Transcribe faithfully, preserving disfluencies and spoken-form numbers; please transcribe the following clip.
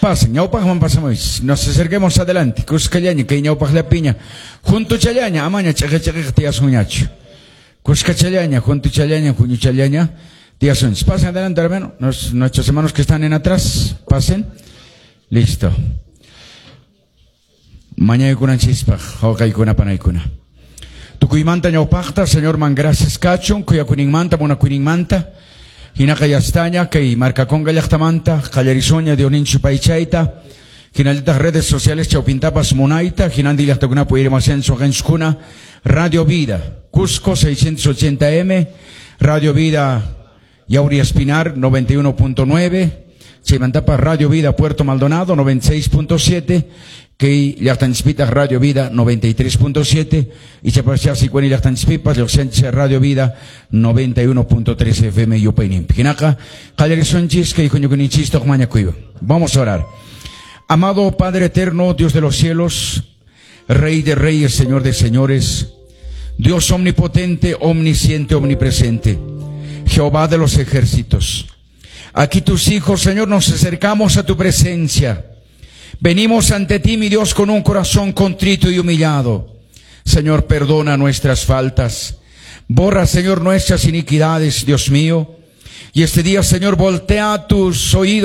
Pasen, ñawpaqman pasamuy. Nos acerquemos adelante. Kuskallaña, kay ñawpaqllapiña. Juntuchallaña, amaña ch'iqi ch'iqiqa tiyasunñachu. Kuskachallaña, juntuchallaña, huñuchallaña tiyasunchis. Pasen adelante, hermano. Nos, nuestros hermanos que están en atrás, pasen. Listo. Mañaykunanchispaq, wawqiykuna panaykuna. Tukuymanta ñawpaqta, Señorman gracias kachun, khuyakuyninmanta, munakuyninmanta. Hinaqa yastaña, kay Marcaconga llaqtamanta, qallarisuña Diosninchik yupaychayta. Hinallataq redes sociales chawpintapas munayta, hinantin llaqtakunapi uyarimasunchis waqanchiskuna, Radio Vida, Cusco seiscientos ochenta M, Radio Vida Yauri Espinar noventa y uno punto nueve, chaymantapa Radio Vida Puerto Maldonado noventa y seis punto siete, kay llaqtanchispitaq Radio Vida noventa y tres punto siete, y chapasya Sicuani llaqtanchispipas lluqsianchis Radio Vida noventa y uno punto tres F M yupayninpi. Hinaqa qallarisunchis kay huñukuyninchista mañakuywan. Vamos a orar. Amado Padre eterno, Dios de los cielos, Rey de reyes, Señor de señores, Dios omnipotente, omnisciente, omnipresente, Jehová de los ejércitos. Aquí tus hijos, Señor, nos acercamos a tu presencia. Venimos ante ti, mi Dios, con un corazón contrito y humillado. Señor, perdona nuestras faltas. Borra, Señor, nuestras iniquidades, Dios mío. Y este día, Señor, voltea tus oídos.